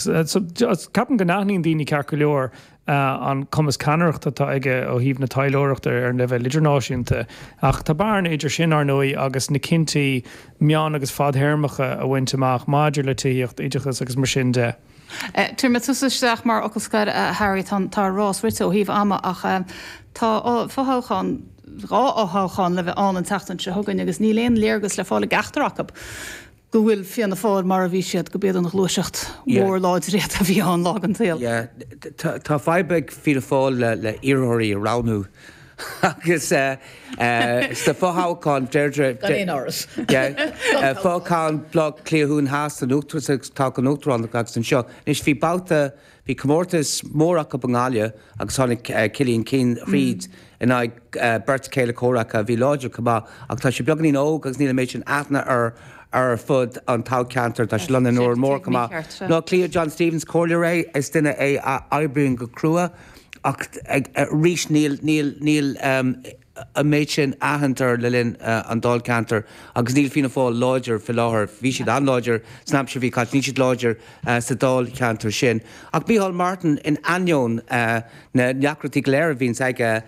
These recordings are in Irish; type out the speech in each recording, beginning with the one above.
So, ceapaim go n-aithníonn daoine ceart go leor an cumas ceannaireachta atá aige ó thaobh na taidhleoireachta ar an leibhéal idirnáisiúnta, ach tá bearna idir sin, ar ndóigh, agus na cinntí meán agus fadthéarmacha a bhaint amach maidir le tithíocht, oideachas agus mar sin de. Tabharfaidh mé tusa isteach mar fhocal scoir, a Harry, tá an rás rite ó thaobh ama ach tá fothoghchán, 2 fhothoghchán le bheith ann an tseachtain seo chugainn agus níl aon léargas le fáil i gceachtar acu. go bhfuil Fianna Fáil mar a bhí siad, gurb iad an ghluaiseacht mhór láidir iad a bhí ann lá den tsaol. Yeah, tá fadhb ag Fianna Fáil le iarrthóirí a roghnú agus sna fothoghcháin Deirdre. Gan aon amhras. Yeah, fothoghchán Bhaile Átha Cliath Thuaidh Theas san toghchán uachtaránachta agus anseo. Anois bhí babhta Bhí comórtas mór acu i nGaillimh agus tháinig Cillian Keane thríd in aghaidh beirt chéile comhraic a bhí láidir chomh maith ach tá sé beagáinín óg agus níl an méid sin aithne air ar fud an toghcheantair. Tá sé lonnaithe in Órán Mór chomh maith. I mBaile Átha Cliath, John Stephens, comhairleoir é, is duine é a oibríonn go crua ach arís níl, níl, níl, an méid sin aithint air le linn an dáilcheantair agus níl Fianna Fáil láidir faoi láthair. Bhí siad an-láidir san aimsir a bhí caite, níl siad láidir sa dáilcheantar sin. Ach Micheál Martin, in ainneoin na ndeacrachtaí go léir a bhíonns aige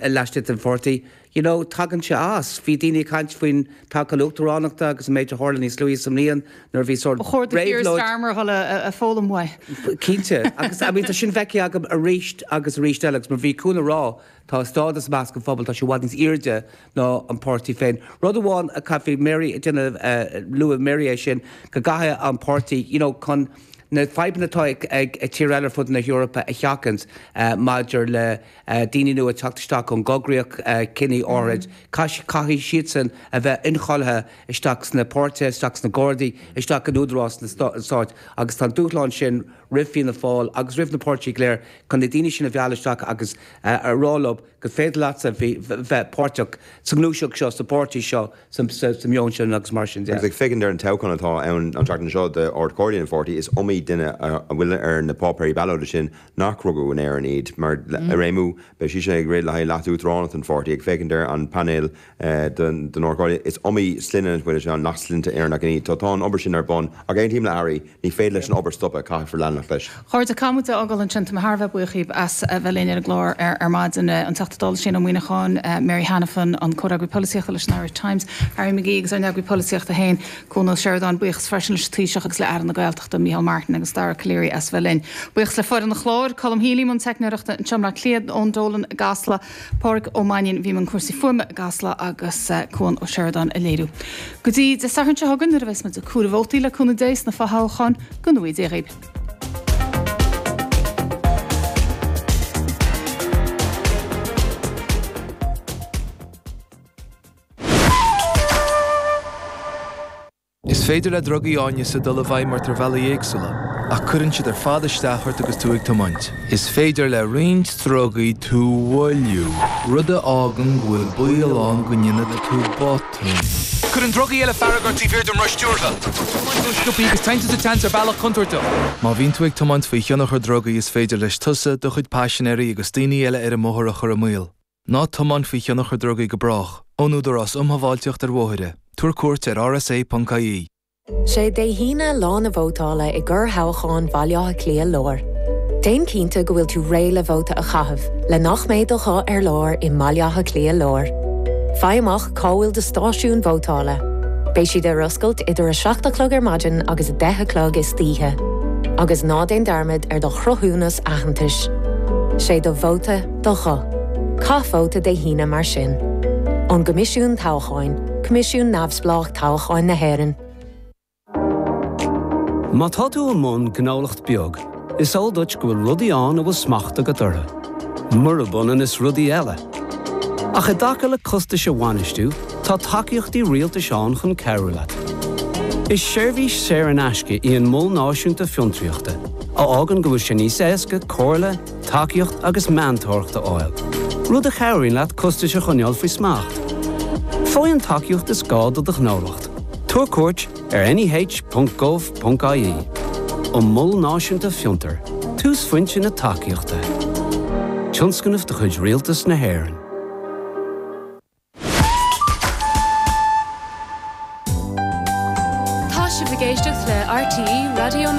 laistigh den pháirtí, you know, tagann sé as. Bhí daoine ag caint faoin toghchán uachtaránachta agus an méid a tharla níos luaithe sa mbliain nuair a bhí sórt Ba chóir do Keir réabhlóid. Starmer a dhul a foghlaim uaidh. Cinnte. Agus I mean tá sin feicthe agam arís agus arís eile agus mar bhí Cuan ag rá, tá a stádas i measc an phobail, tá sé i bhfad níos airde ná an páirtí féin. Rud amháin a chaithfidh Mary a déanamh, luaigh Mary é sin, go gcaithfidh an páirtí, you know, chun na fadhbanna atá ag tír eile ar fud na hEorpa a sheachaint maidir le daoine nua ag teacht isteach ón gcoigríoch ciní áirid, caithfidh siadsan a bheith incháilithe isteach sna páirtithe, isteach sna Gardaí, isteach in údarás an stáit agus tá an dúshlán sin roimh Fianna Fáil agus roimh na páirtithe go léir chun na daoine sin a mhealladh isteach agus a rá leo gur féidir leatsa bheith páirteach sa ngluaiseacht seo, sa bpáirtí seo. sa meon sin agus mar sin de. Agus ag féachaint ar an toghchán atá ann an tseachtain seo d'Ard-Chomhairle an pháirtí, is iomaí duine a bhfuil ar na páipéirí ballóide sin nach rugadh in Éirinn iad. Mar réimiú, beidh sise ag rith le haghaidh leas-uachtaránacht an pháirtí. Ag féachaint ar an bpainéal don Ard-Chomhairle, is iomaí sloinne a bhfuil ann nach sloinnte Éireannacha iad. Tá an obair sin ar bun. Ach aontaím le Harry, ní féidir leis an obair stopadh, caithfear leanacht leis. A chairde, caithfidh muid é a fhágáil ansin. Tá mé thar a bheith buíoch dhíbh as a bheith linn ar an gclár ar maidin. An Teachta Dála Shane Ó Muíneacháin, Mary Hanafin, an Comhfhreagraí Polaitíochta leis an Irish Times, Harry McGee agus ár n-eagraí polaitíochta féin, Cuan Ó Seireadáin. Buíochas freisin leis an Taoiseach agus le Aire na Gaeltachta, Micheál Martin agus Dara Calleary as a bheith linn. Buíochas le foireann an chláir, Colm Healy i mbun teicneoireachta anseo i mBleá Cliath, Eoin Dolan i gCasla, Pádraig Ó Mainnín a bhí i mbun cúrsaí fuaime i gCasla agus Cuan Ó Seireadáin ag léiriú. Go dtí Dé Sathairn seo chugainn nuair a bheas muid ag comhaireamh vótaí le cúnamh Dé sna fothoghcháin, go ngnóthaí Dia dhaoibh. Is féidir le drugaí áineasa dul i bhfeidhm ort ar bhealaí éagsúla, ach cuireann siad ar fad isteach ort agus tú ag tiomáint. Is féidir le roinnt drugaí tú a mhoilliú, rud a fhágann go bhfuil baol ann go ndéanfaidh tú botún. Cuireann drugaí eile fearg ort taobh thiar den roth stiúrtha. Tiomáint ró-sciobtha agus téann tú sa tseans ar bhealach contúirteach. Má bhíonn tú ag tiomáint faoi thionchar drugaí is féidir leis tusa, do chuid paisinéirí agus daoine eile ar an mbóthar a chur i mbaol. Ná tiomáin faoi thionchar drugaí go brách. Ón Údarás um Shábháilteacht ar Bhóithre. Tabhair cuairt ar rsa.ie. Sé Dé hAoine lá na vótála i gcorrthoghchán Bhaile Átha Cliath Láir. Déan cinnte go bhfuil tú réidh le vóta a chaitheamh le nach mbeidh do ghuth ar lár i mBaile Átha Cliath Láir. Faigh amach cá bhfuil do stáisiún vótála. Beidh siad ar oscailt idir 7 a chlog ar maidin agus 10 a chlog istoíche. Agus ná déan dearmad ar do chruthúnas aitheantais. Sé do vóta do ghuth. Caith vóta Dé hAoine mar sin. Ón gCoimisiún Toghcháin, Coimisiún Neamhspleách Toghcháin na hÉireann. Má tá tú i mbun gnólacht beag, is eol duit go bhfuil rudaí ann a bhfuil smacht agat orthu, murab ionann is rudaí eile. Ach i dtaca le costais a bhainistiú, tá tacaíochtaí rialtais ann chun cabhrú leat. Is seirbhís saor in aisce í an Mol Náisiúnta Fiontraíochta, a fhágann go bhfuil sé níos éasca comhairle, tacaíocht agus meantóireacht a fháil, rud a chabhraíonn leat costais a choinneáil faoi smacht. Faigh an tacaíocht is gá do do ghnólacht. Tabhair cuairt ar neh.gov.ie. An Mol Náisiúnta Fiontar, túsphointe na tacaíochta. Tionscnamh de chuid Rialtas na hÉireann.